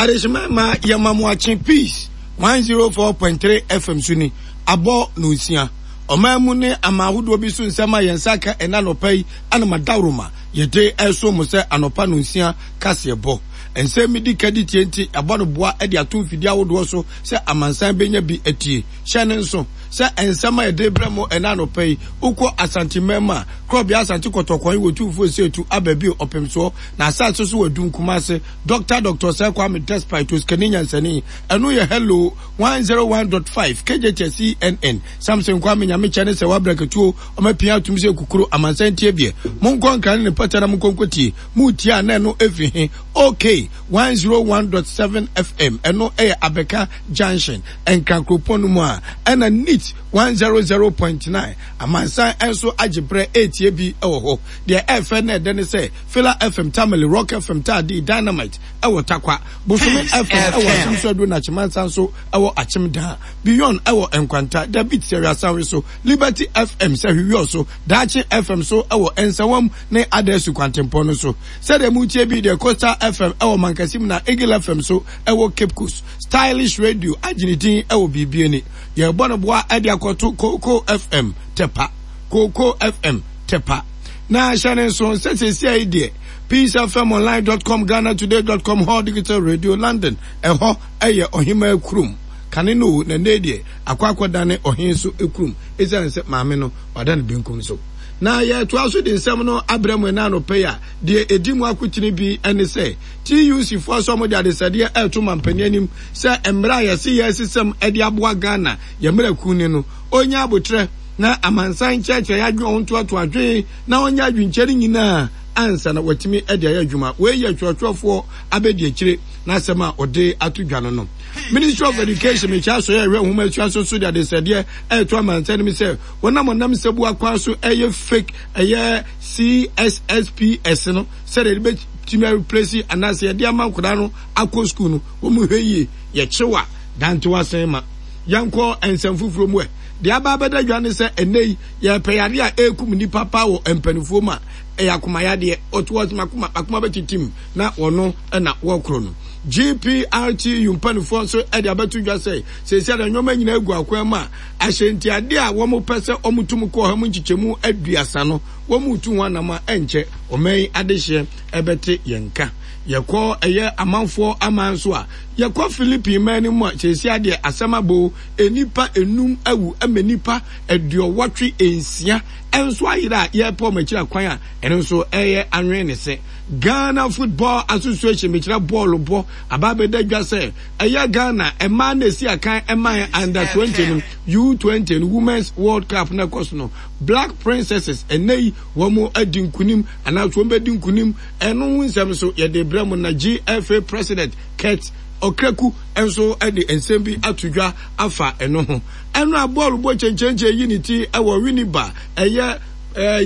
Adehyema ma yɛma mo akye Peace 104.3 FM so ni, abɔ nonsia. Ɔman mu ne aman ahodoɔ bi so nsɛm a yɛn nsa aka ɛnnɛ anɔpa yi anam adaworoma yɛde resom mo sɛ anɔpa nonsia kaseɛbɔ. Nsɛm bi di ka di tie nti yɛabɔ no boa de ato mfidie ahodoɔ so sɛ amansan bɛnya bi atie. Hyɛ no nso sɛ nsɛm a yɛde rebrɛ mo ɛnnɛ anɔpa yi, wokɔ Asante man mu a, Korɔbea Asante Kɔtɔkɔn wɔ Tumfoɔ Osei aba bio Ɔpemsoɔ na asase so wɔ Adum Kumase Dɔkta Dɔkta Osei Kwame Despite Osikani Nyansani ɛno yɛ Hello 101.5 KJT CNN Samson Kwame Nyamekyɛ ne Sɛwa Brakatuo ɔma pia atum sɛ kukuro amansan tie biɛ monkɔ nkra ne ne pɔtɛ na monkɔ nkɔtie moretie a na ɛno ɛfiri he OK 101.7 FM ɛno ɛyɛ Abɛka Junction Nkran kuropɔn no mu a ɛna NEAT 100.9 Amansan nso agye berɛ retie bi wɔ hɔ. Deɛ ɛfɛ na ɛdɛ ne sɛ Fila FM Tamale, Rock FM Taadii, Dynamite wɔ Tarkwa, Bosome FM wɔ Akyem Soaduro na Akyemansa nso wɔ Akyem Daa, Beyond wɔ Nkwanta, The Beat Sɛhwɛ Asanwe so, Liberty FM Sɛhwe Wiɔso, Daakye FM nso wɔ Nsawam ne Adasu kwantempɔn no so. Sɛdeɛ moretie bi deɛ Coastal FM wɔ Mankasim na Eagle FM nso wɔ Cape Coast. Stylish Radio agye ne din wɔ biribi ani. Yɛrebɔ no boa de akɔto Kooko FM Tɛpa. Kooko FM Tɛpa. Na hyɛ ne nso sɛ seesia yi deɛ Peace FM Online dot com, Ghana Today dot com, Hall Digital Radio London, ɛhɔ ɛyɛ ɔhemaa kurom. Kane no o, na nnɛ deɛ akɔ akɔdane ɔhen so kurom esiane sɛ maame no wada ne benkum so. Na yɛtoa so de nsɛm no abrɛ mo ɛna anɔpa yi a, deɛ ɛdi mu akotene bi ne sɛ TUC foɔ sɛ wɔde adesɛdeɛ ɛreto mampanin anim sɛ mmerɛ a yɛse yɛresesam de aboa Ghana yɛn mmerɛ kunni no, ɔnya aboterɛ na amansan nkyerɛkyerɛ yɛn adwene ɔntoatoa adwene na ɔnyɛ adwenkyerɛ no nyinaa ansa na watumi de ayɛ adwuma. Wei yɛ twerɛtwerɛfoɔ abɛdiakyire n'asɛm a ɔde ato dwa no no. Ministry of Education mekyɛ asɔeɛ a ɛhwɛ nwoma asua so so de adesrɛdeɛ ɛreto amansan no mu sɛ wɔnam ɔnam nsabu akwan so ɛyɛ fake ɛyɛ CSSPS no sɛdeɛ yɛde bɛtumi areplace anaasɛ yɛde ama nkwadaa no akɔ sukuu no wɔn hwɛ yie yɛkyew a dantew asen ma yɛnkɔ nsɛm foforɔ mu ɛ deɛ aba abɛda dwa ne sɛ ɛnɛ yi yɛpɛ yadeɛ a ɛrekum nnipa paa wɔ mpanimfoɔ mu a ɛyɛ akoma yadeɛ ɔto ɔsɛ makoma makoma bɛtitim na wɔno na wɔkoro no GPRTU mpanimfoɔ nso de abɛto dwa sɛ seesei ada nneɛma nyinaa gu akwan mu a ahyɛntiadeɛ a wɔpɛ sɛ wɔtum kɔ ɔha mu nkyekyɛmu aduasa no wɔretu ho anam a ɛnkyɛ ɔman yi adehyeɛ ɛbɛte yɛn nka. Yɛkɔ ɛyɛ amanfoɔ aman so a, yɛkɔ Philippine man no mu a, seesei adeɛ asɛm abɔ o, nnipa enum awu ama nnipa aduɔwɔtwe nsia nso ayera a yɛrepɛ wɔn akyiri akwan a ɛno nso ɛyɛ anwene ne se. Ghana Football Association mekyerɛ bɔɔlo bɔ aba abɛda dwa sɛ ɛyɛ Ghana mmaa na esi akan ɛman under 20 no U20 no Women's World Cup na ɛkɔ so no Black Princesses ɛnɛ yi wɔn adi nkunim anaasɛ wɔn bɛdi nkunim Ɛno ho nsɛm nso yɛde rebrɛ mo na GFA President Kurt Okraku nso de nsɛm bi ato dwa afa ɛno ho. Ɛno a bɔɔl bɔ kyenkyenkyen yi ne ti wɔ Winneba ɛyɛ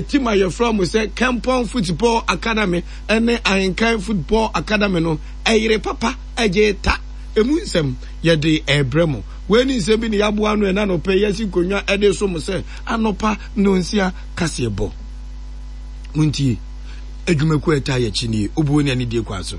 team a yɛfrɛ mo sɛ Kempong Football Academy ne Ahenkan Football Academy no ɛyere papa ɛgye ta. Emu nsɛm yɛde rebrɛ mo. Wei ne nsɛm bi ne yɛaboa ano ɛna anɔpa yi yɛasi nkonnwa de so mo sɛ anɔpa nnɔnsia kaseɛbɔ. Montie. Adwumakuo a ɛtaa yɛn akyi nie, Obuo ne Anidie kwan so.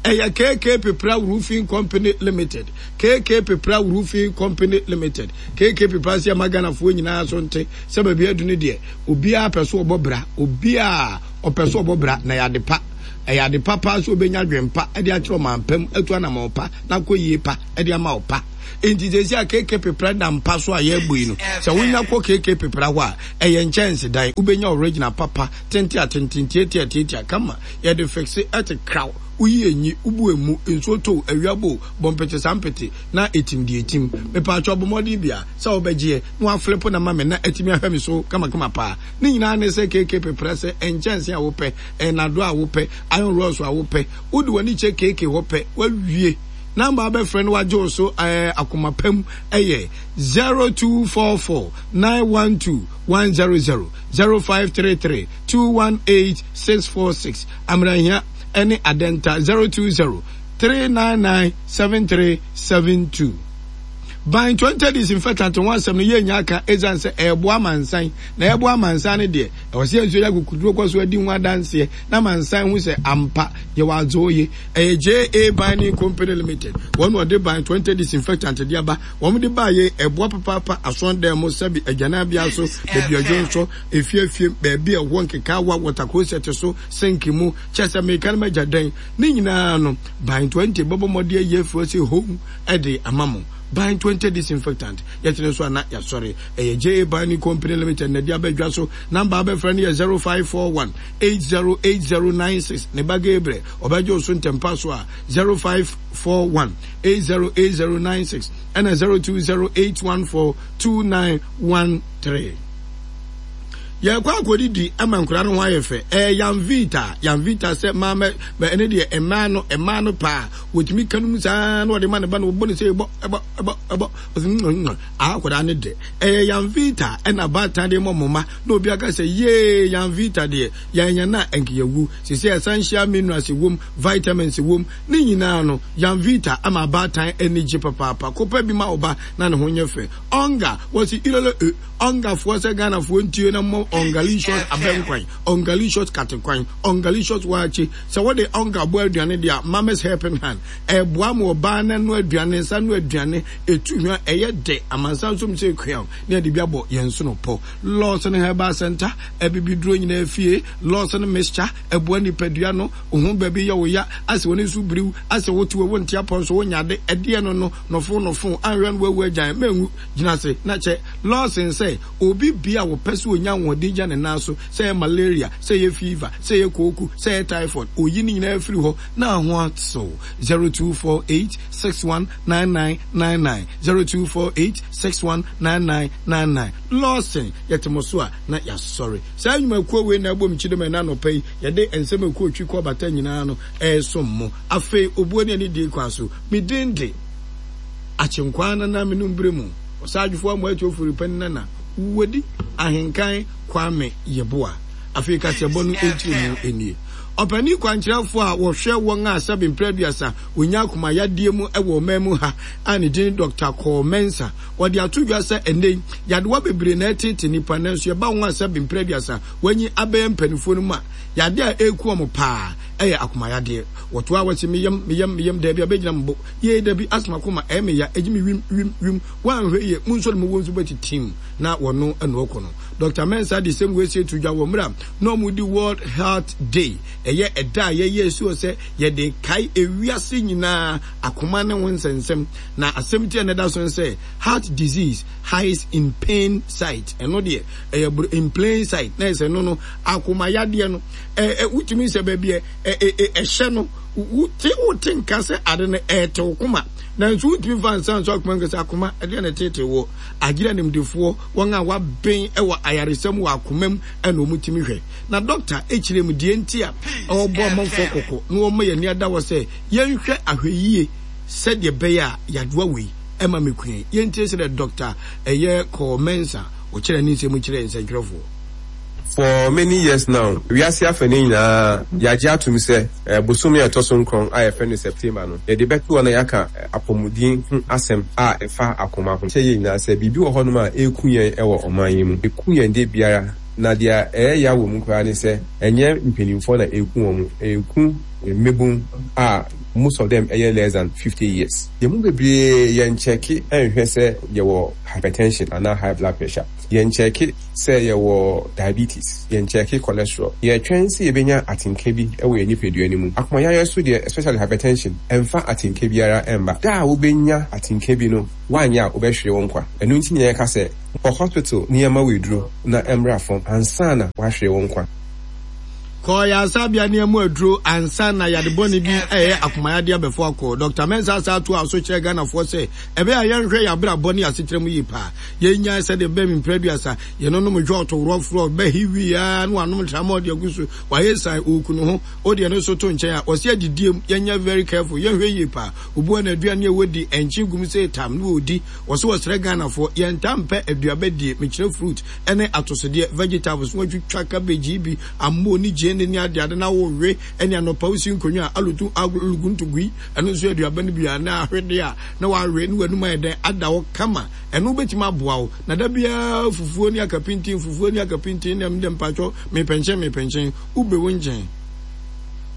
Ɛyɛ KK Pepra Roofing Company Limited, KK Pepra Roofing Company Limited, KK Pepra sɛ ɛma Ghanafoɔ nyinaa so nte sɛ baabi adu no deɛ, obiara pɛ so ɔbɔ bra, obiara ɔpɛ so ɔbɔ bra na ɛyɛ ade pa. Ɛyɛ ade pa paa sɛ obɛnya adwene pa de akyerɛ ɔman pa mu, atu anamɔn pa na akɔ yie pa de ama wo pa. Enti seesei a KK Pepra da mpa so a yɛrebɔ yi no, sɛ wonya kɔ KK Pepra hɔ a, ɛyɛ nkyɛnsedan, wobɛnya original papa Tenten a tenten, tiatia a tiatia, kama, yɛde fixe ɛte kraw, woyi enyi, wobu emu, nsuo tɔ o, awia bɔ o, bɔ mpete saa mpete, na etim deɛ etim. Mepaakyɛw bɔ mmɔden bia sɛ wobɛgyeɛ na waflipo no ama me na atumi ahwɛ me so kamakama paa. Ne nyinaa ne sɛ KK peprɛ sɛ nkyɛnse a wopɛ, nnadoa a wopɛ, iron rods a wopɛ, wode w'ani kyɛ KK hɔ pɛ, wawie. Number a wobɛfrɛ na wagye wo so ɛɛ akoma pa mu yɛ 0244 912 100. 0533 218 646, Amerahia ne Adenta 020 399 7372. Ban 20 disinfectant ho asɛm no yɛnnya aka esiane sɛ ɛreboa amansan na ɛreboa amansan no deɛ Ɛwɔ sɛ yɛn nso yɛnya akokoduro kɔ so adi ho adanseɛ na amansan hu sɛ ampa yɛwɔ adze oye. Ɛyɛ JA Binding Company Limited wɔn na wɔde Bind 20 disinfectant de aba. Wɔn de baa yei ɛboa papaapa asɔndan mu, sɛbi agyananbea so, baabi a dwonsɔ, efie afie, baabi a ɛwɔ nkekaawa, water closet so, sink mu, kyɛ sɛ meka no magya dɛn. Ne nyinaa no, Bind 20 bɛbɔ mmɔden ayi afiri hɔ sɛ home de ama mo. Bind 20 disinfectant, yɛkyene nso a na yɛasɔre. Ɛyɛ JA Binding Company Limited na ɛde aba dwa so. Number a wobɛfrɛ no yɛ 0541 808096. Ne ba Gabriel, ɔbɛgye wo so ntɛmpa so a 0541 808096 ɛna 0208142913. Yɛkɔ akɔdidi ama nkwadaa no ho ayɛ fɛ. Ɛyɛ Yanvita, Yanvita sɛ maa mɛ mɛ ɛne deɛ mmaa no mmaa no paa wɔtumi ka no mu saa na wɔde ma ne ba no wɔbɔ ne sɛ ɛbɔ ɛbɔ ɛbɔ ɛbɔ ɔsɛ mm akwadaa no dɛ. Ɛyɛ Yanvita ɛna baatan de ma ɔmo mma na obi aka sɛ yee Yanvita deɛ yɛanya no a ɛnka yɛwu. Seesei essential minerals wom, vitamins wom, ne nyinaa no Yanvita ama abaatan ani gye papaapa. Kɔpɛ bi ma wo ba na ne ho nyɛ fɛ. Ɔnga, wɔse irele e. Ɔngafoɔ sɛ Ghanafoɔ ntie na mmɔ Ɔngalicious abɛnkwan, Ɔngalicious katekwan, Ɔngalicious waakye. Sɛ wode ɔnga bɔ aduane deɛ a, Mama's Helping Hand, ɛboa ma ɔbaa no ano aduane, ne nsa ano aduane, ɛtu hwa, ɛyɛ dɛ, amansan nso sɛ kuaw, na yɛde bi abɔ yɛn nsono pɔ. Lawson Herbal Centre, abibiduro nyinaa fie, Lawson Mixture, ɛboa nipadua no, wo ho baabi yɛ wo ya, asɛ w'ani so biriw, asɛ wote wɔ wonte apɔ nso wonya ade, ɛdeɛ no no, nɔfo nɔfo, anhwɛ no wawu agyan, manwu. Gyina ase na kyɛ Lawson sɛ obi bia a wɔpɛ sɛ onya ahoɔden gya ne nan so, sɛ ɛyɛ malaria, sɛ ɛyɛ fever, sɛ ɛyɛ kooko, sɛ ɛyɛ typhoid, oyi ne nyinaa firi hɔ na ho atew. 0248 61 9999 0248 61 9999 Lawson, yɛte mo so a na yɛasɔre. Saa nnwumakuo wei na ɛbom kyidom ɛnnɛ anɔpa yi yɛde nsɛm a ɛkɔ otwi kɔ bata nyinaa no ɛresom mo. Afei obuo ne anidie kwan so, me din de. Akyenkwaa Nana Menum Berɛ mu Ɔsaadwofoɔ Amoa Atuofori Panin Nana Wodi Ahenkan Kwame Yeboah. Afei kaseɛbɔ no nkyerɛmu nie. Ɔpanin kwankyerɛfoɔ a wɔhwɛ wɔn a sɛbe mprɛ aduasa wɔnya akoma yadeɛ mu wɔ ɔman mu ha a ne din ne Dɔkta Kɔɔ Mensah, ɔde ato dwa sɛ ɛnnɛ yi yadewa bebree na ɛreteete nnipa nanso yɛba wɔn a sɛbe mprɛ aduasa wɔanyi abɛyɛ mpanimfoɔ no mu a, yadeɛ a ɛreku wɔn paa yɛ akoma yadeɛ. Wɔtoaa wɔse me yam, me yam, me yam, daabi abɛgyina me bo. Yei dabi asoma koma ɛyɛ me ya egye me wim wim wim woanhwɛ yie mo nsɔre mu wɔ nso bɛti tim na wɔno ɛna ɔkɔ no Doctor Mensah de sɛm wei sie to dwa wɔ mmerɛ a na wɔn di World Heart Day ɛyɛ ɛda a yɛyɛ esi hɔ sɛ yɛde kae ewiase nyinaa akoma ne ho nsɛnsɛm na asɛm ti a na ɛda so ne sɛ heart disease hides in pain sight ɛno deɛ ɛyɛ in plain sight na ɛsɛ no no akoma yadeɛ no ɛ ɛ wotumi sɛ baabi ɛ ɛ ɛhyɛ no Wote wote nka sɛ ade no ɛrete wo koma, nanso wontumi mfa nsa nsɔ akoma nka sɛ akoma ɛdeɛ na ɛteetee woɔ. Agyere animdefoɔ, wɔn a wɔaben wɔ ayaresa mu wɔ akoma mu na wɔtumi hwɛ. Na dɔkta kyerɛ mu deɛ nti a ɔrebɔ amanfoɔ kɔkɔ na wɔma yɛn ani ada hɔ sɛ yɛnhwɛ ahwɛyie sɛdeɛ ɛbɛyɛ a yadewa wei ɛma me kua. Yɛntie sɛdeɛ dɔkta ɛyɛ Kɔɔ Mensah ɔkyerɛ ne nsɛm kyerɛɛ nsɛntwerɛfoɔ. For many years now, wiase afɛnɛ nyinaa yɛagye atom sɛ bosome a ɛtɔ so nkron a yɛfrɛ no September no, yɛde bɛto hɔ na yɛaka apɔmuden ho asɛm a ɛfa akoma ho. Kyerɛ yɛn nyinaa sɛ biribi wɔ hɔnom a ɛreku yɛn wɔ ɔman yi mu. Ɛku yɛn da biara, na deɛ ɛyɛ ya wɔ mu koraa ne sɛ ɛnyɛ mpanimfoɔ na ɛreku wɔn, ɛreku mmabun a most of them yɛ less than 50 years. Yɛn mu bebree yɛnkyɛke nhwɛ sɛ yɛwɔ hypertension anaa high blood pressure. Yɛnkyɛke sɛ yɛwɔ diabetes, yɛnkyɛke cholesterol. Yɛtwɛn sɛ yɛbɛnya atenka bi wɔ yɛn nipadua no mu. Akomayareɛ nso deɛ, especially hypertension, ɛmfa atenka biara mma. Da a wobɛnya atenka bi no, woanyɛ a wobɛhwere wo nkwa. Ɛno nti na yɛka sɛ, kɔ hospital na yɛmma wo aduro na ɛmmra fam ansa na woahwere wo nkwa. Kɔ ayaresabea na yɛmmɔ aduro ansa na yade bɔne bi a ɛyɛ akomayadeɛ abɛfo akɔ. Dɔkta Mensah san toaa so kyerɛɛ Ghanafoɔ sɛ, ɛbɛyɛ a yɛnhwɛ yɛn abrabɔ ne yɛn asetra mu yie paa. Yɛnnyae sɛdeɛ bɛm mprɛ aduasa, yɛnonom dwɔɔto worɔforɔ, bɛhe wie ara na wanom tramɔɔ de agu so, wayɛ san, ɔreku ne ho. Wo deɛ no nso to nkyɛn a, wɔse adidie mu, yɛnyɛ very careful, yɛnhwɛ yie paa. Obi wɔ hɔ n'aduane a ɔdi, ɛnkye gum sei tam na ɔredi. Wɔse wɔsrɛ Ghanafoɔ, yɛntaa mpɛ aduaba die, mekyerɛ fruit, ne atosodeɛ, vegetables, na watwitwa cabbage yi bi, ammo ne gyeene. gyeene ne adeade na wowe ɛne anɔpa wosi nkonnwa a alotu aluguntugui ɛno nso aduaba no bi a na ahwede a na wawe ne w'anum ayɛ dɛn ada hɔ kama ɛno wobɛtumi aboa wo na da biara fufuo ne akapintin fufuo ne akapintin ne ɛmdɛ mpakyɛw mepɛnkyɛn mepɛnkyɛn wobɛ wo nkyɛn.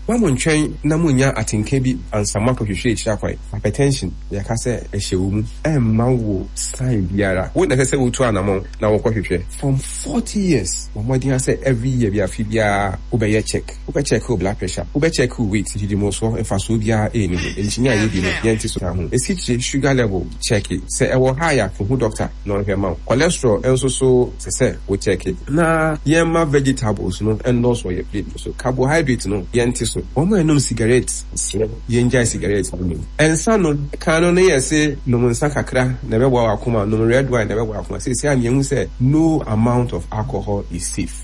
Mma monntwɛn na munnya atenka bi ansa moakɔhwehwɛ akyiri akwan. Hypertension, yɛka sɛ ɛhyɛ wo mu, ɛmma wo sign biara. Wo na ɛsɛ sɛ wotu anamɔn na wokɔhwehwɛ. From 40 years, bɔ mmɔden ara sɛ every year bi, afe biara wobɛyɛ check. Wobɛ check wo blood pressure, wobɛ check wo weight, nnidimusoɔ, mfasoɔ biara nni ho. Nkyene a yɛdi no, yɛnte so. Ho. Esikyire, sugar level, check. Sɛ ɛwɔ high a, kɔhu doctor na ɔnhwɛ mma wo. Cholesterol nso so, ɛsɛ sɛ wo check. Na yɛmma vegetables no nnɔɔso wɔ yɛn plate no so. Carbohydrate no, yɛnte so. Wɔn a ɛnom sigaret, mesrɛ mo, yɛngyae sigaret no nom. Nsa nom, kan no na yɛse nom nsa kakra na ɛbɛboa w'akoma, nom red wine na ɛbɛboa w'akoma. Seesei a yɛahu sɛ no amount of alcohol is safe.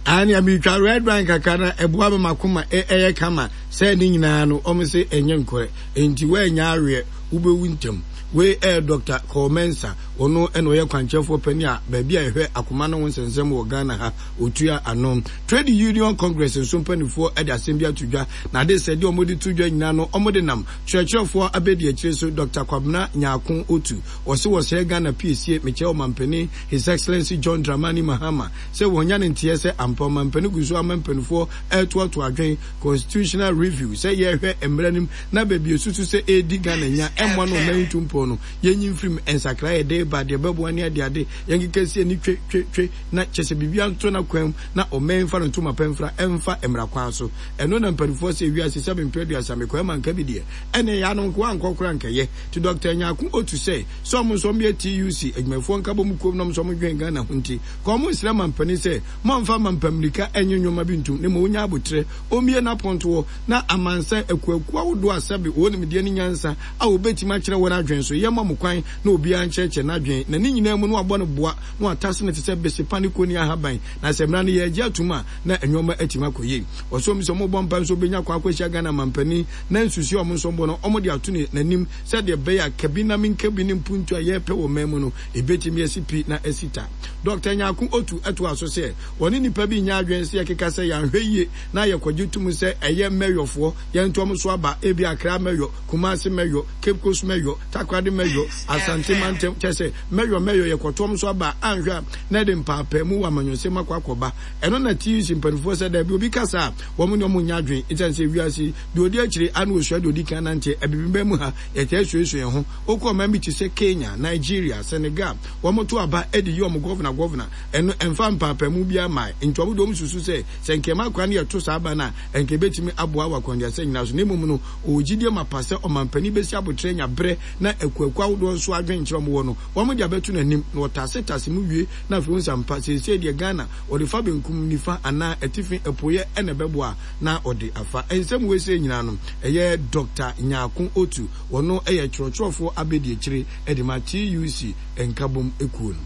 Aane a metwa red wine kakra na ɛboa ma m'akoma ɛyɛ kama sɛ ne nyinaa no wɔn se ɛnyɛ nkorɛ enti woannya aweɛ wobɛwu ntɛm. Wei ɛyɛ Dɔkta Cole Mensah ɔno ɛna ɔyɛ kwankyerɛfoɔ panin a baabi a yɛhwɛ akoma no ho nsɛnsɛm wɔ Ghana ha ɔtua ano. Trade Union Congress nso mpaninfoɔ de asɛm bi ato dwa na ade sɛ deɛ wɔde to dwa nyinaa no wɔde nam kyerɛkyerɛfoɔ abɛdiakyire so Dɔkta Kwabena Nyarko Otu ɔse wɔsrɛ Ghana piesie mekyerɛ ɔmanpanin His Excellency John Dramani Mahama sɛ wɔnya no nteɛ sɛ ampa ɔmanpanin gu so ama mpaninfoɔ retoatoa adwene, Constitutional Review, sɛ yɛrehwɛ mmara no mu na baabi ɛsusu sɛ ɛredi Ghana nya, ɛmmoa na ɔman ntu mpɔn no, yɛnyi mfiri mu, nsakraeɛ a yɛde reba, deɛ ɛbɛboa ne adeade, yɛnkeka sie ani twe twe twe na kyerɛ sɛ biribiara nto n'akwan mu na ɔman mfa no ntoma pa mfira mfa mmara kwan so. Ɛno na mpaninfoɔ sɛ wiase sɛ mempɛ aduasa mekɔɛ manka bi deɛ, ɛnneɛ yɛ ano nkoa ankɔ koraa nkɛyɛ. Nti Dɔkta Nyarko Otu sɛ, Sɛ ɔmo nso ɔmo yɛ TUC adwumayɛfoɔ nkabom kuom na ɔmo nso ɔmo dwen Ghana ho nti, ka ɔmo nsrɛ mampanin sɛ mommfa mampamirika ɛnye nnoɔma bi ntom na mmom ɔnya aboterɛ, ɔmmue n'apontoɔ na amansan akuakuo ahodoɔ a sɛbe wɔwɔ nimdeɛ ne nyansa a wɔbɛtumi akyerɛ wɔn adwene so yɛmma mo kwan na obiara nkyerɛkyerɛ n'adwene na ne nyinaa mu no wabɔ no boa na watase no te sɛ bese pa ne koni ahaban na sɛ mmara no yɛregye atom a na nnoɔma atumi akɔ yie. Ɔsɛ ɔmo sɛ ɔmo bɔ mpae nso ɔbɛnya kwan akɔhyia Ghana mampanin na nsusuiɛ a ɔmo nso bɔ no ɔmo de ato n'anim Sɛdeɛ ɛbɛyɛ a kabi-na-menkabi ne mpuntuo a yɛrepɛ wɔ man mu no, ɛbɛtumi asi pi na asi ta. Dɔkta Nyarko Otu toaa so sɛ, Wɔne nnipa bi nyɛ adwene sɛ yɛkeka sɛ yɛanhwɛ yie na yɛkɔgye tom sɛ ɛyɛ mɛyɔfoɔ, yɛnto wɔn so aba, ebia Accra mɛyɔ, Kumasi mɛyɔ, Cape Coast mɛyɔ, Takoradi mɛyɔ, Asante mantam, kyerɛ sɛ mɛyɔ mɛyɔ, yɛkɔto wɔn so aba a, anhwɛ a na ɛde mpaapaemu wɔ amanyɔsɛm mu akɔ akɔba. Ɛno na TUC mpanimfoɔ sɛ daabi, obi ka saa a, wɔn ne wɔn nyɛ adwene esiane sɛ wiase yi, Deɛ ɔdi akyire a na ɔsua deɛ ɔdi kan nante. Abibiman mu ha, yɛtaa suasua yɛn ho. Wokɔ ɔman bi te sɛ Kenya, Nigeria, Senegal, wɔto aba de yi wɔn gɔvena gɔvena. Ɛno, ɛmfa mpaapaemu biara mmae. Nti wɔn deɛ wɔsusu sɛ, sɛ nka yɛma kwan na yɛto saa aba no a, anka ɛbɛtumi aboa wɔ akwannuasa nyinaa so. Na mmom no, wɔwɔ gyidie mapa sɛ ɔmampanin bɛsi aboterɛ anya berɛ na akuakuo ahodoɔ nso adwenkyerɛ a wɔwɔ no, wɔde abɛto n'anim na wɔtasetase mu wie na afei wɔhu sɛ ampa seesei deɛ Ghana wɔde fa benkum, nifa anaa atifi, apueɛ na ɛbɛboa. na ɔde afa. Nsɛm wei sei nyinaa no, ɛyɛ Dɔkta Nyarko Otu, ɔno yɛ kyerɛkyerɛfoɔ abɛdiakyire de ma TUC nkabom kuo no.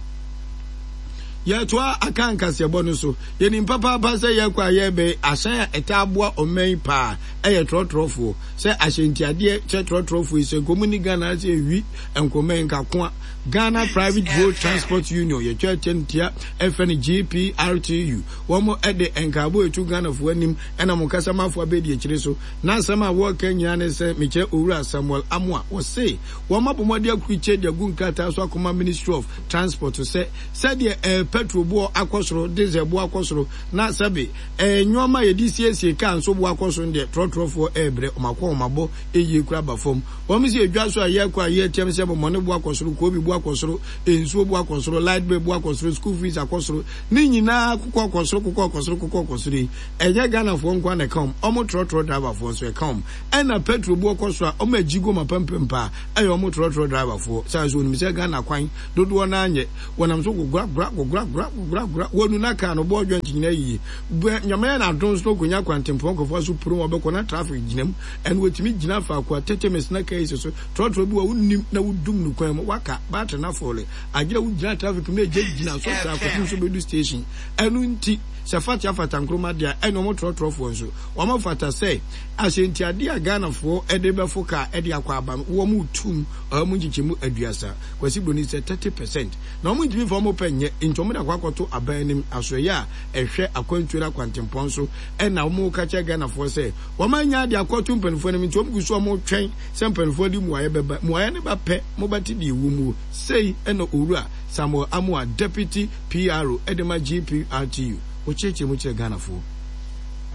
Yɛtoa Akan kaseɛbɔ no so. Yɛnim papaapa sɛ yɛkɔ a yɛreba yi, ahyɛn a ɛtaa boa ɔman yi paa yɛ trɔtrɔfoɔ. Sɛ ahyɛntiadeɛ kyɛ trɔtrɔfoɔ yi, sɛ nka wɔn nni Ghana ha sɛ ɛwi nkroma yi nka koa. Ghana Private Road Transport Union, yɛtwa kyɛntia ɛfrɛ no GPRTU. Wɔn de nkaebɔ reto Ghanafoɔ anim ɛna wɔn kasamafoɔ abɛdi akyire so. N'asɛm a wɔreka nyinaa ne sɛ mekyerɛ Owura Samuel Amoah. Wɔse wɔn abɔ mmɔden akrukyire de agu nkrataa so akɔma Ministry of Transport sɛ sɛdeɛ ɛɛ petrol boɔ akɔ soro, diesel boɔ akɔ soro na sɛbe ɛɛ nnoɔma a yɛde siesie car nso boɔ akɔ soro no deɛ trɔtrɔfoɔ ɛrebrɛ wɔn akɔnhomabɔ yie koraa aba fam. Wɔn se edwa so a yɛrekɔ a yɛreteam sɛ bɔmmɔne boɔ akɔ soro, koobi boɔ akɔ soro, nsuo boɔ akɔ soro, light bill boɔ akɔ soro, school fees akɔ soro, Ne nyinaa kokɔ kɔ soro kokɔ kɔ soro kokɔ kɔ soro yi, ɛnyɛ Ghanafoɔ nko ara na ɛka wɔn, wɔn trɔtrɔ driverfoɔ nso ɛka wɔn. Ɛna petrol boɔ kɔ soro a, wɔn agyi gu wɔn apampam paa, ɛyɛ wɔn trɔtrɔ driverfoɔ. Saa nso wɔnim sɛ Ghana kwan dodoɔ no ara nyɛ, wɔnam so gogora gora gogora gora gogora gora, wɔnu na car no bɔɔ joint nyinaa yiye. Bɛ Nyame ayɛ no adom nso na ɔkɔnya kwantempɔn kɔfa so purom a ɔbɛkɔ na traffic gyina mu, ɛno wɔtumi gyina faako a 30 minutes na car yi si so, trɔtrɔ bi wɔ hɔ a wonnim na wodum no kwan mu, waka, battery no afɔle. Agyina wo gyina traffic mu na egya gyina so saa kɔpem sɛ obedu station. Ɛno nti sɛ Fatia fata Nkrumah deɛ a ɛne wɔn trɔtrɔfoɔ nso wɔn fata sɛ ahyɛntiadeɛ a Ghanafoɔ de bɛfo car de akɔ aba no wɔn retum ɔha mu nkyekyɛmu aduasa, Kwasi Broni sɛ 30 percent, na wɔn ntumi mfa wɔn pɛ nyɛ nti wɔn. wɔn de akɔ akɔto aban anim asoɛeɛ a ɛhwɛ akwantuo ne akwantempɔn so ɛna wɔn reka kyerɛ Ghanafoɔ sɛ wɔn anya ade akɔto mpanimfoɔ anim nti wɔn gu so wɔn retwɛn sɛ mpanimfoɔ de mmuaeɛ bɛba. Mmuaeɛ no ba pɛ mobɛte deɛ ɛwɔ muo. Sei ɛna Owura Samuel Amoah, Deputy PRO de ma GPRTU, ɔkyerɛkyerɛ mu kyerɛ Ghanafoɔ.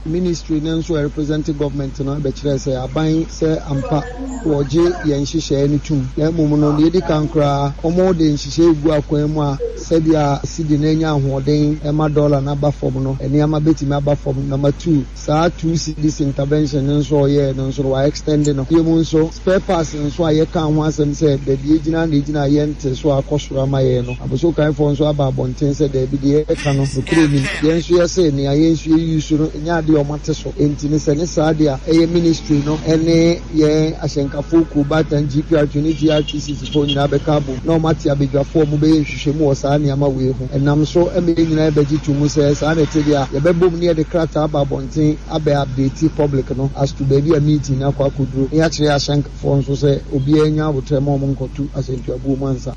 Ministry no nso a ɛrepresente government no bɛkyerɛɛ sɛ aban sɛ ampa wɔgye yɛn nhyehyɛɛ no tum na mmom no deɛ edi kan koraa wɔde nhyehyɛɛ regu akwan mu a sɛdeɛ cedi no anya ahoɔden ma dollar no aba fam no nneɛma bɛtumi aba fam. Number two, saa two cedis intervention no nso a ɔyɛɛ no nso no wa extend no. Bio mu nso spare parts nso a yɛkaa ho asɛm sɛ baabi egyina na egyina a yɛnte so a akɔ soro ama yɛn no, Abosokanfoɔ nso aba abɔnten sɛ daabi deɛ yɛka no nokorɛ nnim. Yɛn nso yɛse nea yɛn nso yɛ use no nyɛ adeɛ a wɔate so. Enti no sɛ ne saa deɛ a ɛyɛ ministry no ne yɛn ahyɛnkafoɔ kuo Baatan GPRT ne GRTCC foɔ nyinaa bɛka abom na wɔate abadwafoɔ a wɔbɛyɛ nhwehwɛmu wɔ saa nneɛma wei ho. Ɛnam so ma yɛn nyinaa bɛgye to mu sɛ saa na ɛte deɛ a yɛbɛbom ne yɛde krataa aba abɔnten abɛ update public no as to baabi a meeting no akɔ akɔduro na yɛakyerɛ ahyɛnkafoɔ nso sɛ obiara nya aboterɛ ma wɔn nkɔto asɛntuabuo mu ansa.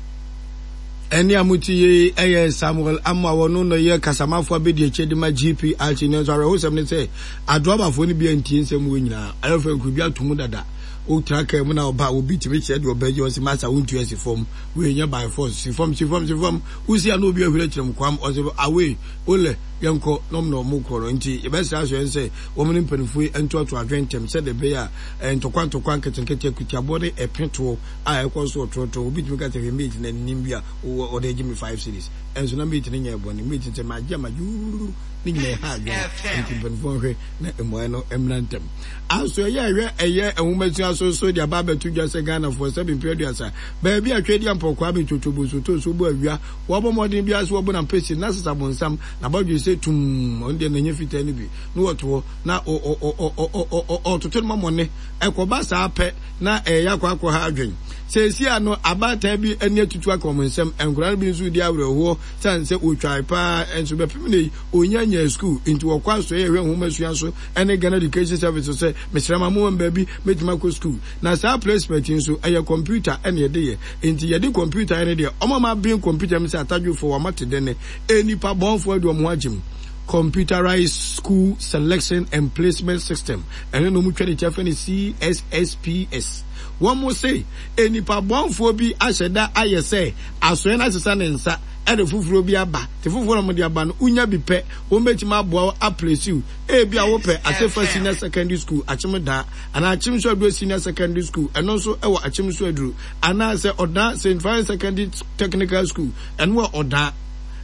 Ɛnne a mote yi yɛ Samuel Amoah, ɔno na ɔyɛ kasamafo abadiakyire de ma GPRT. Nanso awerɛhosɛm ne sɛ, Adoabafoɔ no bi antie nsɛm wei nyinaa. Ayɔfo nkurobi ato mu dada. Wotra kaa mu na ɔba a, obi tumi kyerɛ deɛ ɔbɛgye, ɔse masa wontua si fam. Wei nyɛ by force. Si fam, si fam, si fam. Wosi a na obi ahuri akyerɛ mu kwam, ɔse away, olɛ, yɛnkɔ, na ɔmo na ɔmo kɔ no. Nti yɛbɛsrɛ asoɛe sɛ wɔn ne mpanimfoɔ yi ntoatoa adwene ntɛm sɛdeɛ ɛbɛyɛ a ntɔkwa ntɔkwa nketenkete, akutiabɔ ne ɛpetoɔ a ɛkɔ so ɔtorɔtorɔ. Obi tumi ka sɛ, hwɛ mate no anim bi a ɔde agye me 5 cedis. Ɛnso na mate no nyɛɛ bɔne. Mate no sɛ magye a magye wuruwuru. Ne nyinaa ɛha adwene. Nti mpanimfoɔ nhwɛ na mmuaeɛ no mmra ntɛm. Aso ɛyɛ ɛhwɛ ɛyɛ nwomasua so so de aba abɛto dwa sɛ Ghanafoɔ sɛbe mfeɛ 30 baabi a Tweedi Ampɔn Kwame Twotwobo Nsotonso bɔ awia wɔbɔ mmɔden biara sɛ wɔbɔ no ampesi na sesa bonsam na bɔdwe sɛ tumm ɔno deɛ n'anya fitaa no bi na wɔto hɔ na ɔtoto no mɔmɔne ɛkɔba saa pɛ na ɛyɛ akɔ akɔ ha adwen. Seesei ano abaatan bi ani atutu aka wɔn nsam, nkwadaa no bi nso redi awerɛhoɔ sane sɛ wɔtwae paa nso bɛpem nnɛ yi wɔnnya nyaa sukuu nti wɔkɔ asɔeɛ ɛhwɛ nwomasua so ne Ghana Education Service so sɛ mesrɛ ma mowɔ baabi mɛtumi akɔ sukuu. Na saa placement yi nso ɛyɛ kɔmputa na yɛde yɛ nti yɛde kɔmputa yɛ no deɛ wɔn a wɔaben kɔmputa mu sɛ atadwofoɔ wɔn ate dɛnɛ nnipa bɔnfoɔ de wɔn ho agye mu. Computerized School Selection and Placement System, ɛno na wɔtwa ne kyɛfa no CSSPS. Wɔn se nnipa bɔnfoɔ bi ahyɛ da ayɛ sɛ asoɛ no asesa ne nsa de foforɔ bi aba, te foforɔ na wɔde aba no wonya bi pɛ, wɔn bɛtumi aboa wo aplesi wo. Ebia wopɛ Asefa Senior Secondary School, Akyem Daa, anaa Akyem Suaduro Senior Secondary School, ɛno nso wɔ Akyem Suaduro, anaasɛ Ɔdaa St. Francis Secondary Technical School, ɛno wɔ Ɔdaa.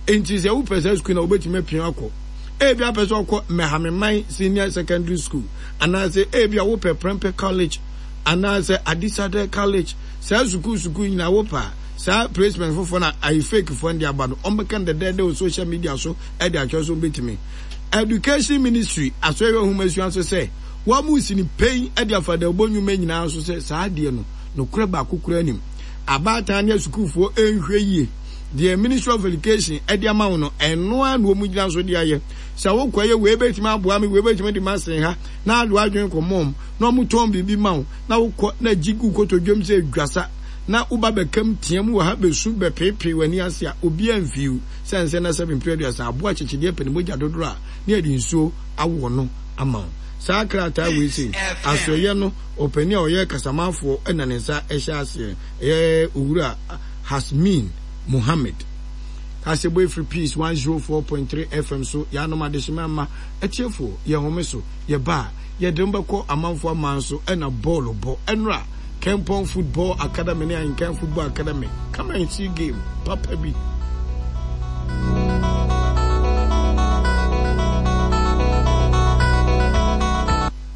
Enti sɛ wopɛ saa sukuu no a, wobɛtumi apia akɔ. Ebia wopɛ sɛ wokɔ Mɛhameman Senior Secondary School, anaasɛ ebia wopɛ Prempeh College, anaasɛ Adisadel College. Saa sukuu sukuu nyinaa wopɛ a, saa placement foforɔ no a ayi fake foɔ no de aba no, wɔbɛka no dɛdɛɛdɛ wɔ social media so de akyerɛ sɛ wɔbɛtumi. Education Ministry asɔre nhomasua nso sɛ wɔresi no pɛn de afa dawubɔ nnwuma nyinaa so sɛ saa adeɛ no, nokorɛ baako koraa nnim. Abaatan ne asukuufoɔ nhwɛ yie. Deɛ Ministry of Education de ama wo no, ɛno ara na wɔgyina so de ayɛ. Sɛ wokɔyɛ wei bɛtumi aboa me, wei bɛtumi de m'asen ha, na ade w'adwene kɔmmɔ wɔn, na wɔtɔn biribi ma wo, na wokɔ na gye gu kotodwam sɛ dwasa, na woba bɛkam team wɔ ha bɛsu bɛpeepee w'ani ase a, obiara mfii wo. Sɛ nsɛ na sɛbe mprɛ 30 aboa akyekyedeɛ pɛ ne mogya dodoɔ a, na yɛde nsuo awɔ no ama wo. Saa krataa wei sei, asoɛeɛ no ɔpanin a ɔyɛ kasamafoɔ na ne nsa hyɛ aseɛ, ɛyɛ Owura Hasmin Mohammed. Kaseɛbɔ ɛfiri Peace 104.3 FM so, yɛanom adehyema mma atiefoɔ, yɛn home so, yɛba a, yɛde mo bɛkɔ amanfoɔ aman so ɛna bɔɔlo bɔ. Ɛnora, Kempong Football Academy ne Ahenkan Football Academy, come and see game papa bi.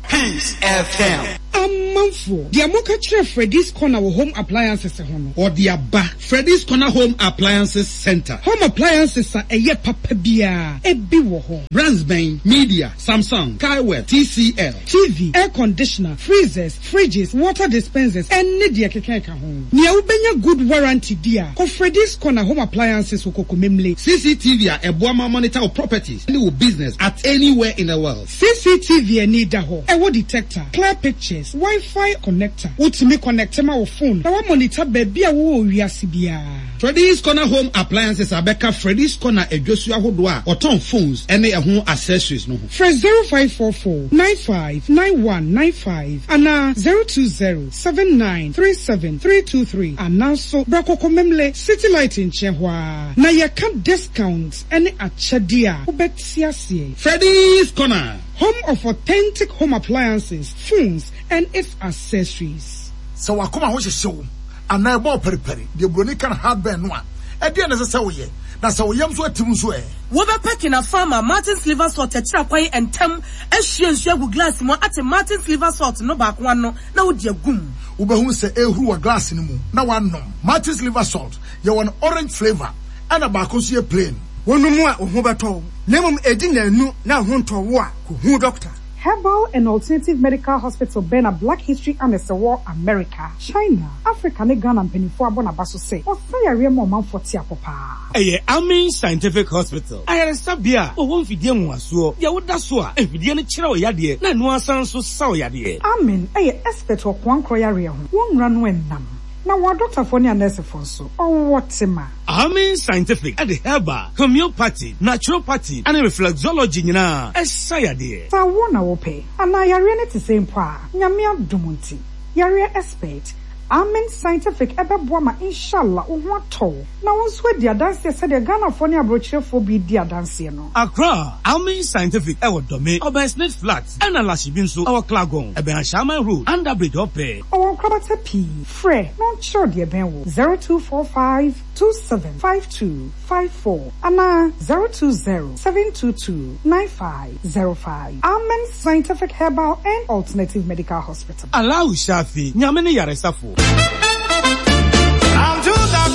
Peace FM. Amanfoɔ, deɛ moka kyerɛ Freddy's Corner wɔ Home Appliances ho no. Ɔde aba. Freddy's Corner Home Appliances Centre. Home appliances a ɛyɛ papa biara, ebi wɔ hɔ. Brands bɛn? Media, Samsung, Kaiwell, TCL. TV, air conditioner, freezers, fridges, water dispensers, ɛne deɛ ɛkeka ɛka ho. Nea wobɛnya good warranty di a, kɔ Freddy's Corner Home Appliances wɔ Kokomemle. CCTV a ɛboa ma monitor wo properties ne wo business at anywhere in the world. CCTV ani da hɔ, ɛwɔ detector, clear pictures. wireless Wi-Fi connector. Wotumi connecte ma wo phone na woamonitor baabi a wowɔ wɔ wiase biara. Freddy's Corner Home Appliances abɛka Freddy's Corner adwasu ahodoɔ a wɔtɔn phones ne ɛho accessories no ho. Frɛ 0544 95 9195 anaa 020 79 37 323 anaa nso bra Kokomemle City Light nkyɛn hɔ ara na yɛka discount ne akyɛdeɛ a wobɛte aseɛ. Freddy's Corner. Home of authentic home appliances, phones and its accessories. Sɛ w'akoma ho hyehye wo anaa ɛbɔ wo paripari, deɛ buroni ka no heartburn no a, ɛdeɛn na ɛsɛ sɛ woyɛ? Na sɛ wo yam nso atim nso ɛ? Wobɛpɛ Kinafa ama Martin's Liver Salt akyiri akwan ntɛm, ahwie nsuo agu glass mu ate Martin's Liver Salt no baako ano na wode agu mu. Wobɛhunu sɛ ɛrehuru wɔ glass no mu na woanom. Martin's Liver Salt, yɛwɔ no orange flavour ɛna baako nso yɛ plain. Wonom a, wo ho bɛtɔ wo, na mmom edi nnanu na wo ho ntɔ wo a, kohu dɔkta. Herbal and Alternative Medical Hospital bɛn na Black History Annex wɔ America, China, Africa ne Ghana mpaninfoɔ abɔ n'aba so sɛ ɔsa yareɛ ma ɔmanfoɔ te apɔ paa. Ɛyɛ Amin Scientific Hospital, ayaresabea a wɔwɔ mfidie nwonwasoɔ, deɛ woda so a mfidie no kyerɛ wo yadeɛ na ɛno ara san nso sa wo yadeɛ. Amin yɛ expert wɔ koankorɔ yareɛ ho, wɔn nwura no nnam, na wɔn adɔktafoɔ ne anɛɛsefoɔ nso, wɔwɔ tema. Amin Scientific de herbal, homeopathy, naturopathy ne reflexology nyinaa sa yadeɛ. Sɛ awoɔ na wopɛ, anaa yareɛ no te sɛn mpo a, Nyame adom nti, yareɛ expert, Amen Scientific bɛboa ma Inshallah wo ho atɔ wo na wo nso adi adanseɛ sɛdeɛ Ghanafoɔ ne abrokyerefoɔ bi redi adanseɛ no. Accra, Amen Scientific wɔ Dome, ɔbɛn Smith Flat, ɛna Lashibi nso wɔ Klagon, ɛbɛn Ashaiman Road, Under Bridge hɔ pɛɛ. Ɔwɔ nkorabata pii. Frɛ na ɔnkyerɛ wo deɛ ɛbɛn wo, 0245 27 52 54 anaa 020 722 9505. Amen Scientific Herbal and Alternative Medical Hospital. Allahu Shafi, Nyame ne yaresafo.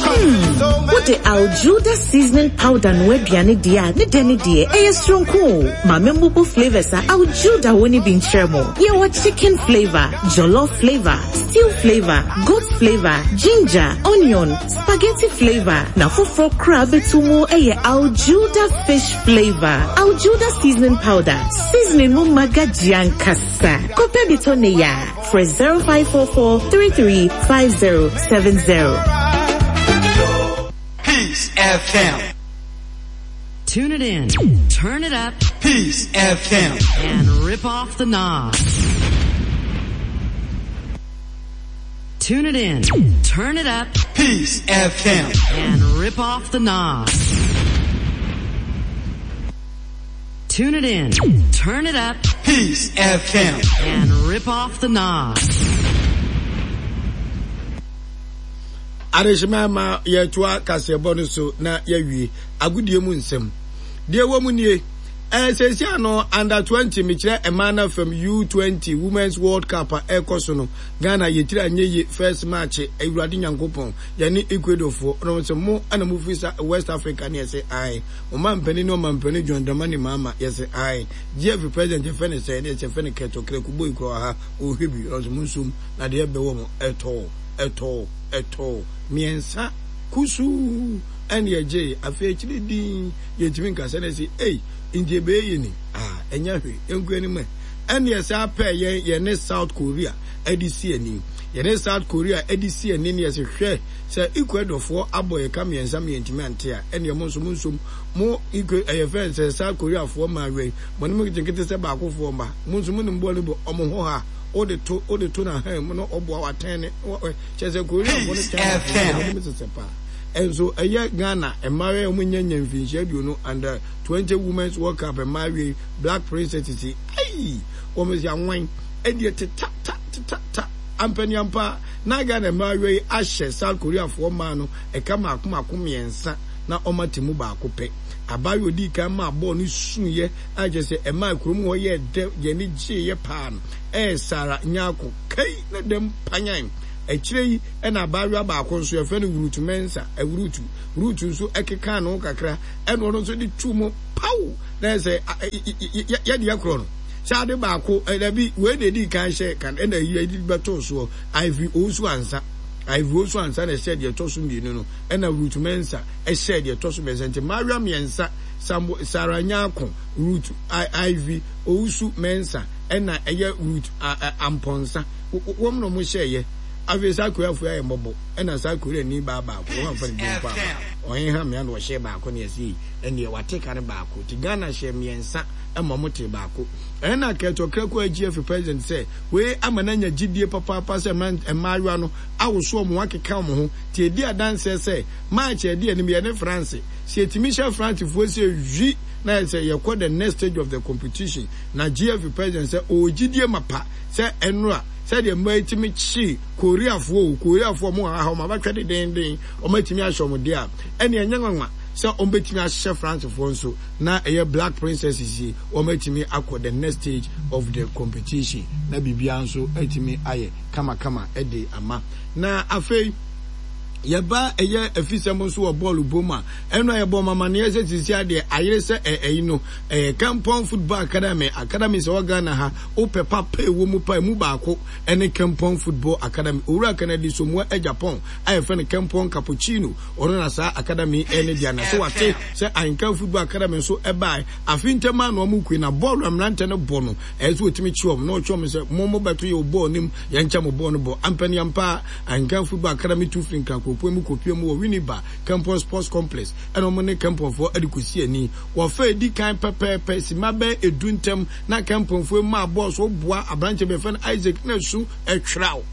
Hmm, wode Aljuda seasoning powder noa aduane deɛ a, ne dɛ ne deɛ, ɛyɛ soronko o. Ma memmubu flavors a Aljuda wɔ no bi nkyerɛ mo. Yɛwɔ chicken flavor, jollof flavor, stew flavor, goat flavor, ginger, onion, spaghetti flavor, na foforɔ koraa bɛto mu yɛ Aljuda fish flavor. Aljuda seasoning powder, seasoning mu maga gye ankasa. Kɔpɛ bi tɔ ne ya. Frɛ 0544 335070. Peace FM. Tune it in, turn it up, Peace FM, and rip off the knob. Tune it in, turn it up, Peace FM, and rip off the knob. Tune it in, turn it up, Peace FM, and rip off the knob. Adehyema ma yɛtoa kaseɛbɔ no so na yɛawie agodie mu nsɛm. Deɛ ɛwɔ mu nie, ɛɛ seesia no under 20 mekyerɛ mmaa no fam U20 Women's World Cup a ɛrekɔ so no, Ghana yɛtiri anyɛ yie first match Awurade Nyankopɔn yɛne Ecuadorfoɔ na wɔn sɛ mo na mo firi sa West Africa ne yɛsɛ ae ɔmampanin ne ɔmampanin John Dramani Mahama yɛsɛ ae GFA president yɛfɛ ne sɛ ne yɛsɛ fɛ ne Kurt Okraku boy kura wɔ ha ɔhwɛ bi na wɔn sɛ mo nsom na deɛ ɛbɛwɔ mo ɛtɔɔ ɛtɔɔ ɛtɔɔ mmiɛnsa kusuu ɛne ɛgyee afei akyire din yɛntumi nka sɛ na ɛsɛ ei nti ɛbɛyɛ yɛ ni ah ɛnyɛ hwee yɛnkɔ anim ɛ ɛne ɛsɛ apɛ yɛn yɛne South Korea ɛde si ani yɛne South Korea ɛde si ani ne yɛsɛ hwɛ sɛ Ecuadorfoɔ abɔ yɛ ka mmiɛnsa mmiɛntumi ante a ɛne mo nso mo nsom mo Equa ɛyɛ fɛn sɛ South Koreafoɔ maa wɛn mo ne mo nketenkete sɛ baakofoɔ mma mo nso mo nim bɔɔl no bɔ ɔmo ho ha wode to wode to na han mu na ɔboa watɛn ne kyerɛ sɛ Koreafoɔ no Chinafoɔ no sesɛ paa Nso ɛyɛ Ghana mmaayewa a wɔn nya mfinhyia aduonu under 20 Women's World Cup mmaayewa yi Black Princesses yi aii wɔn si anwan ɛdeɛ teta ta teta ta ampaniampa na Ghana mmaayewa yi ahyɛ South Korea foɔ mmaa no ɛka mako mako mmiɛnsa na wɔn ate mu baako pɛ. Abaayewa odii kan maa bɔɔl no suiɛ a kyerɛ sɛ ɛmaa kurom hɔ yɛɛ dɛ yɛn ani gyeeɛ paa no ɛyɛ Sarah Nyarko kai na dɛm panyan. Akyire yi na abaayewa baako nso, yɛfrɛ no Ruth Mensah, Ruth, Ruth nso kekaa ne ho kakra, ɛna ɔno nso de tuu mu paw, na yɛ sɛ yɛdeɛ korɔ no. Sɛ ade baako, dabi, wei na ɛdii kan hyɛ kan, ɛna yi de bɛtoo soɔ, Ivy Owusu Ansah, Ivy Owusu Ansah na ɛhyɛ deɛ ɛtɔ so mmienu no, ɛna Ruth Mensah ɛhyɛ deɛ ɛtɔ so mmiɛnsa, nti mmaayewa mmiɛnsa, Sarah Nyarko, Ruth, Ivy Owusu Mensah, ɛna ɛyɛ Ruth Amponsah. Wɔn na wɔn hyɛɛyɛ. Afei South Korea foɔ ayɛ mmɔbɔ ɛna South Korea ni baa baako wɔn amfa ne din mpo amma. Ɔheha mmea na ɔhyɛɛ baako na yɛse ei ɛnneɛ wate ka no baako. Nti Ghana hyɛɛ mmiɛnsa ɛma wɔn tee baako. Ɛna Kurt Okraku agye afi president sɛ wei ama no anya gyidie papaapa sɛ mmaayewa no awoso wɔn ho akeka wɔn ho. Nti ɛdi adanseɛ sɛ March a ɛdi anim yɛne France sɛ yɛtumi hyɛ France foɔ sɛ hwi na ayɛ sɛ yɛkɔ the next stage of the competition. Na GFA president sɛ ɔwɔ gyidie mapa sɛ ɛnora sɛdeɛ mmaa yi tumi kye Koreafoɔ o, Koreafoɔ wɔn wɔ ha wɔn abatwɛ dedenden, wɔn atumi ahyɛ wɔn deɛ a, ɛnneɛ ɛnyɛ nwanwa sɛ wɔn bɛtumi ahyɛ Francefoɔ nso na ɛyɛ Black Princesses yi wɔn atumi akɔ the next stage of the competition na biribiara nso atumi ayɛ kamakama de ama. Na afei yɛba ɛyɛ afisɛm nso wɔ bɔɔlo bɔ mu a, ɛno a yɛbɔ wɔn amaneɛ sɛ sisi adeɛ ayere sɛ ɛyi no ɛyɛ Kampong Football Academy, Academy sɛ wɔ Ghana ha Wopɛ papa a ɛwɔ mu paa, emu baako ne Kempong Football Academy. Owura Kennedy Somoa Agyapong a yɛfrɛ no Kempong Cappuccino, ɔno na saa academy yi ne dea. Na sɛ wate sɛ Ahenkan Football Academy nso bae afe ntam ara na wɔkue, na bɔɔlo a mmerante no bɔ no, ɛyɛ sɛ wɔtumi kye wɔn na wɔtwe wɔn sɛ, Mo mobɛto yɛn wɔ bɔɔl no mu, yɛnkyɛ mo bɔɔl no bɔ. Ampaniampa ara, Ahenkan Football Academy tu firi Nkran kuropɔn mu kɔpue mu wɔ Winneba Kempong Sports Complex, ɛna wɔn ne Kempongfoɔ de kɔsi ani. Wɔfa a ɛdi kan pɛpɛɛpɛ, simma bɛyɛ edu ntam, Na Kempongfoɔ yi maa bɔɔl so boa aberanteɛ bi yɛfrɛ no Isaac na su ɛtwerɛw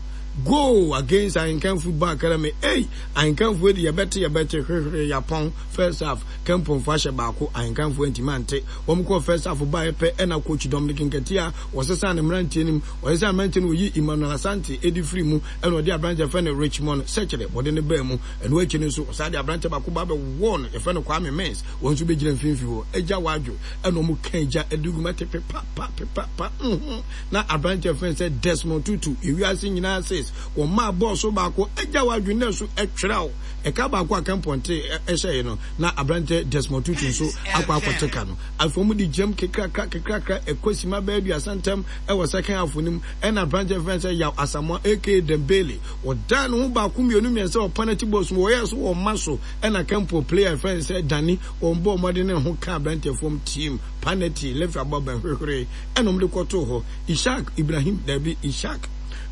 goal against Ahenkan Football Academy. Ei! Ahenkanfoɔ di yɛbɛte yɛbɛte hwehwere yapɔn first half Kempongfoɔ ahyɛ baako Ahenkanfoɔ antumi ante. Wɔn kɔɔ first half baeɛ pɛ ɛna coach Dominic Nketia wɔsesaa ne mmeranteɛ no mu. Wɔsesaa mmeranteɛ no wɔyii Emmanuel Asante ɛdi firi mu ɛna wɔde aberanteɛ yɛfrɛ no Richmond Sekyere wɔde no baa mu. Ɛno akyi no nso wɔsan de aberanteɛ baako ba bɛwɔɔ no yɛfrɛ no Kwame Mens wɔn nso bɛgyina mfimfini hɔ. Agya Wadwo ɛna ɔmo ka egya ɛde gu mu ɛte pepa pa pepa pa mhm na aberanteɛ fɛn sɛ Desmond Tutu ewiase nyinaa says wɔn maa bɔɔl so baako agya wadwene na ɛso ɛtwerɛw ɛka baako a kɛmpɔnte ɛhyɛɛ no na aberanteɛ Desmond Tutu nso akɔ akɔte ka no afei ɔmo de gyam kekrakra kekrakra ɛkɔ sima bɛyɛ aduasa ntam ɛwɔ second half no mu ɛna aberanteɛ fɛn sɛ Yaw Asamoah aka Dembele wɔdan ne ho baako mmienu mmiɛnsa wɔ penalty box mu wɔyɛ so wɔn ma so ɛna kɛmpɔ player fɛn sɛ Danny Wɔn bɔɔ mmɔden ne ho kaa aberanteɛ fam team panati left abɔ abɛn hwehwere ɛna wɔn de kɔtoo hɔ. Ishaq Ibrahim dabi Ishaq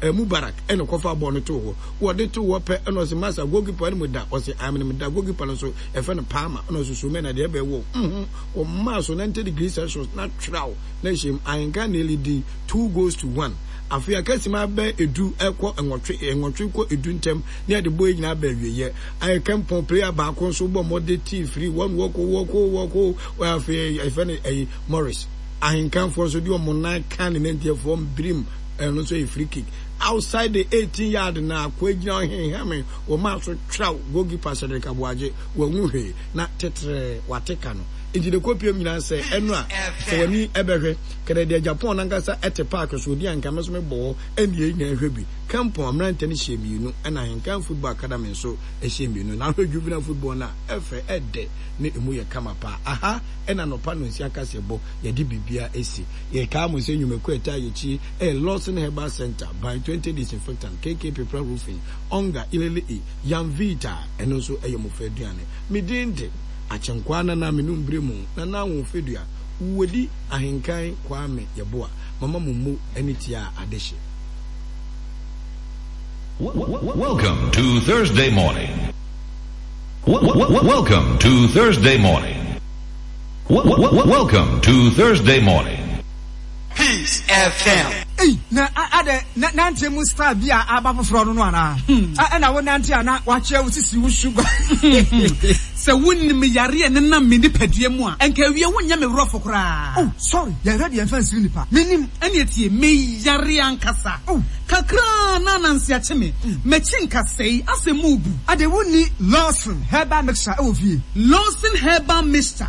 eh, Mubarak ɛna kɔfa bɔɔl no too hɔ. Wɔde too hɔ pɛ ɛna ɔse masa goalkeeper no mu da ɔse amene mu da goalkeeper no nso ɛfɛ no Palmer ɛna ɔse so mɛ na deɛ ɛbɛn wɔ mhm wɔn maa so 90 degree Celsius na twerɛw na ɛhyɛ mu ahenka na ɛlidi 2 goals to 1. Afei akasima bɛ edu ɛkɔ nwɔtwe nwɔtwe kɔ edu ntɛm ne yɛde bɔ yɛ nyinaa bɛ awieɛ. Ayɛ kɛmpɔn player baako nso bɔ mmɔde tii firi wɔn wɔko wɔko wɔko wɔ afei ɛfɛ no ɛyi Morris ahenkanfoɔ nso de wɔn nan ka ne nantiafoɔ mbirim ɛno nso yɛ free kick outside the 18 yard na akɔ agyina ɔhenhɛme wɔn maa so twerɛw goalkeeper Cedric Aboagye wɔn ho hwee na tetrɛ wate ka no nti de kɔpiem nyinaa sɛ ɛno a sɛ w'ani ɛbɛhwɛ kɛdɛ deɛ Japan nankasa ɛte park so odi anka me nso mebɔ hɔ ɛne yɛn nyinaa hwɛ bi Kempong mmerante no hyɛɛ mmienu ɛna Ahenkan Football Academy nso hyɛɛ mmienu. Na ahwɛ juvenile football no a, ɛfɛ, ɛdɛ ne emu yɛ kama paa. Aha ɛna anɔpa nnɔnsia kaseɛbɔ yɛde biribiara asi. Yɛkaa mo sɛ nnwumakuo a ɛtaa yɛn akyi yɛ Lawson Herbal Centre, Ban 20 Disinfectant, KK Pepra Roofing, Onga, Ilele E, Yamvita, ɛno nso yɛ mmɔfra aduane. Me din de Akyenkwaa Nana Menum Bremu, Nana Ahofedua, Wuodi Ahenkan Kwame Yeboah, Mama Momo ne Tiaa Adehye. Welcome to Thursday morning. Welcome to Thursday morning. Welcome to Thursday morning. Peace FM. Ei na adɛ na nanteɛ mu style bi a aba foforɔ no no anaa? Ɛna wo nante a na wakyerɛ wo sisi wo sugar. Sɛ wonim yare a ɛnenam me nipadua mu a, anka awie wonyɛ me worɔfo koraa. Oh sorry, yɛhwɛ deɛ mfa nsiri nipa. Menim. Ɛneɛ tie, me yare ankasa. Oh. Kakra na ananse akye me. M'akyi nkasɛe, asɛ mu rebu. Ade wonni Lawson herbal mixture wɔ fie? Lawson herbal mixture,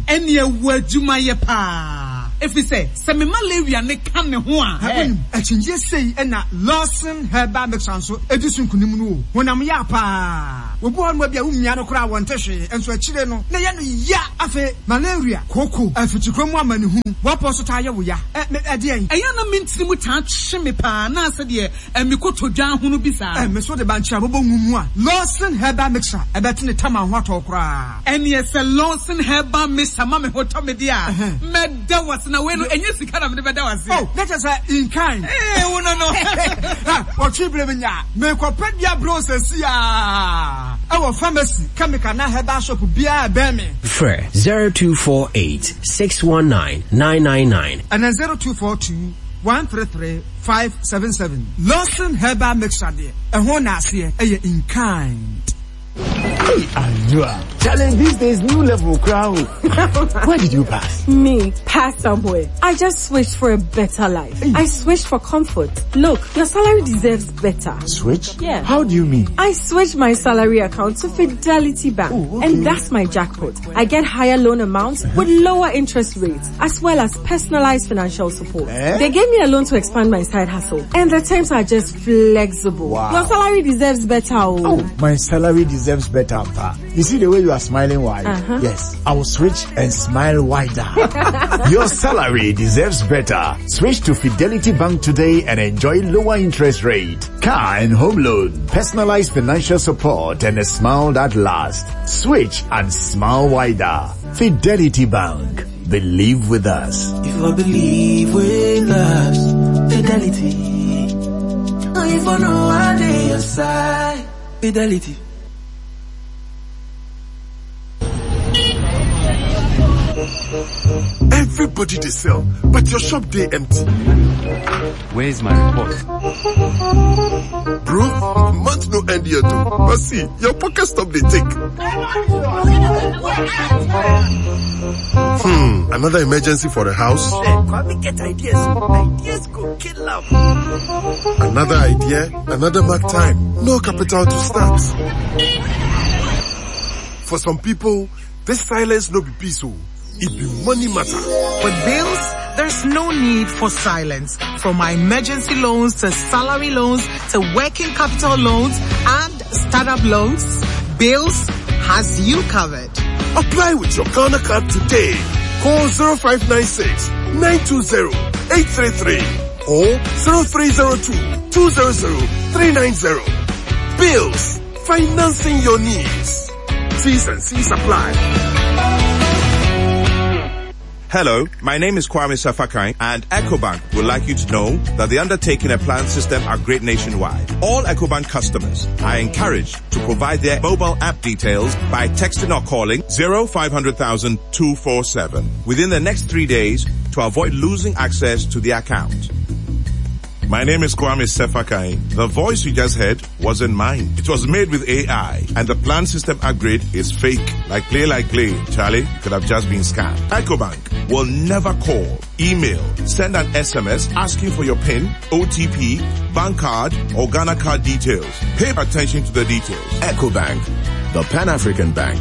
ɛneɛ wɔ adwuma yɛ paa. Ɛfiri sɛ, sɛ me malaria no ka ne ho a. Wonim, akyinnyeɛ sei na Lawson herbal mixture nso di so nkunim no o. Honam ya paa. Obi wɔ hɔnom a ebia womia no koraa a wɔnte hwee, nso akyire no na ɛyɛ no ya. Afei malaria, kooko, afikyikɔ mu amanehunu, w'apɔ nso taa yɛ wo ya. Ɛ, me, ɛdeɛn? Ɛyɛ a na me ntini mu taa twe me paa na sɛdeɛ ɛ, me kotodwe ahono bi saa. Ɛ, me nso de bankye a bɔbɔ ngu mu a, Lawson Herbal Mixture, ɛbɛte ne tam a ho atɔ wo koraa. Ɛneɛ sɛ Lawson Herbal Mixture ma me ho tɔ me deɛ a, mɛda wo ase. na wei no ɛnyɛ sika na mede bɛda wo ase. Oh, na kyerɛ sɛ in kind. Ee, wo no no. Ha, wɔtwe berɛ menya a, merekɔpɛ dua brɛ wo seesei ara ɛwɔ pharmacy, chemical anaa herbal shop biara a ɛbɛn me. Frɛ 0248 619 999. Anaa 0242 133 577. Lawson Herbal Mixture deɛ, ɛho naaseɛ ɛyɛ in kind. Hey, Anua. Challenge these days, new level crowd. Where did you pass? Me, pass somewhere. I just switched for a better life. Hey. I switched for comfort. Look, your salary deserves better. Switch? Yeah. How do you mean? I switched my salary account to Fidelity Bank. Ooh, okay. And that's my jackpot. I get higher loan amounts with lower interest rates, as well as personalized financial support. Eh? They gave me a loan to expand my side hustle. And the terms are just flexible. Wow. Your salary deserves better. Oh, my salary deserves better, pa. You see the way you are smiling wide? Uh-huh. Yes, I will switch and smile wider. Your salary deserves better. Switch to Fidelity Bank today and enjoy lower interest rate, car and home loan, personalized financial support and a smile that lasts. Switch and smile wider. Fidelity Bank. Believe with us. If I believe with us, fidelity. If I know I dey your side, fidelity. Everybody dey sell, but your shop dey empty. Where's my report? Bro, month no end yet o. But see, your pocket stop dey take. Another emergency for the house? Kwame get ideas. Ideas go kill am. Another idea, another mark time. No capital to start. For some people, this silence no be peace o. It be money matter. With bills, there's no need for silence. From our emergency loans to salary loans to working capital loans and startup loans, Bills has you covered. Apply with your Ghana card today. Call 0596 920 833 or 0302 200 390. Bills, financing your needs. T's and C's apply. Hello, my name is Kwame Safakai and EcoBank would like you to know that the undertaking a plan system are great nationwide. All EcoBank customers are encouraged to provide their mobile app details by texting or calling 0500 247 within the next three days to avoid losing access to the account. My name is Kwame Sefakai. The voice you just heard wasn't mine. It was made with AI and the plan system upgrade is fake. Like play, like play. Charlie, you could have just been scammed. EcoBank will never call, email, send an SMS asking for your PIN, OTP, bank card, or Ghana card details. Pay attention to the details. EcoBank, the Pan-African Bank.